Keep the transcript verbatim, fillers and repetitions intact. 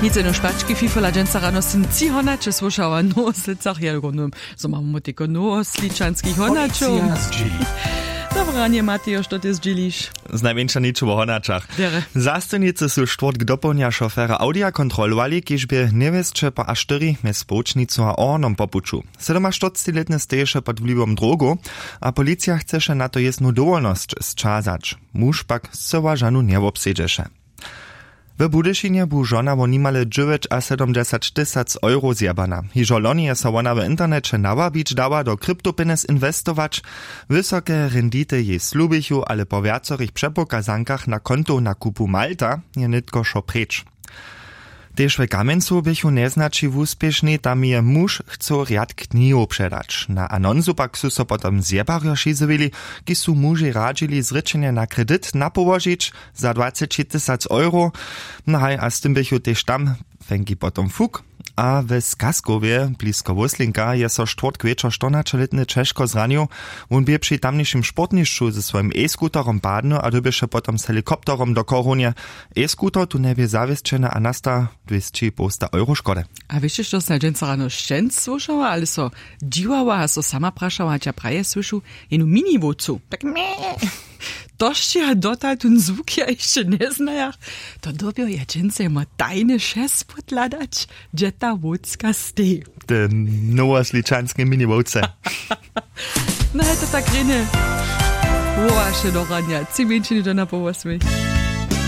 Nic jeno špački fifola dźensa rano sym tři honaće słyšała nowoslědcach ja górnym, zo mamy teko nowosličanskich honaćow. Dobre ranje matejo što ty zdźěliš? Znajmjeńša něčo wo honaćach. Zastojnicy su štwórtk dopołdnja šofera audija kontrolowali, kiž bě njewěsće po a štyri mjez połčnicu a ornom po puću. Sydomaštyrctilětny steješe pod wliwom drogow, a policija chceše na to jěznu dowolnosć sćazać. Muž pak scyła žanu njewobsedźeše. W budyšinje bu žona wo nimale dźewjećasydomdźesać tysac euro zjebana. Hižo loni je so wona w interneće nawabić dała do kryptopjenjez inwestować. Wysoke rendity jej slubichu, ale po wjacorych přepokazankach na kontow na kupu malta je nětko wšo preč. Tež w kamjencu běchu njeznaći wuspěšni, tam je muž chcył rjad knihow předać. Na anonsu pak su so potom zjebarjo šizowili, kiž su mužej radźili zrěčenje na kredit napołožić za dwaceći tysac euro. No haj, a z tym běchu tež tam fenki potom fuk. A w skaskowje blisko wóslinka je so štwórtk wječor štyrnaćelětny ćežko zranił. Wón bě při tamnišim sportnišću ze swojim e-skuterom padnył a dyrbješe potom z helikopterom do chorownje. E-skuter tu njebě zawěsćeny a nasta dwěsći połsta euro škody. A wěsće što sym dźensa rano šćenc słyšała ale so dźiwała a so sama prašała hač ja praje słyšu, jenu miniwowcu tak mje. To sće ja dotal tón zwuk ja hišće njeznajach. To dyrbjo ja dźensa jemu tajne šest podhladać, hdźe ta wowcka steji. Te nowosličanske miniwowce. No je to tak rjenje. Wołaše do ranja tři mjeńšiny do na połosmej.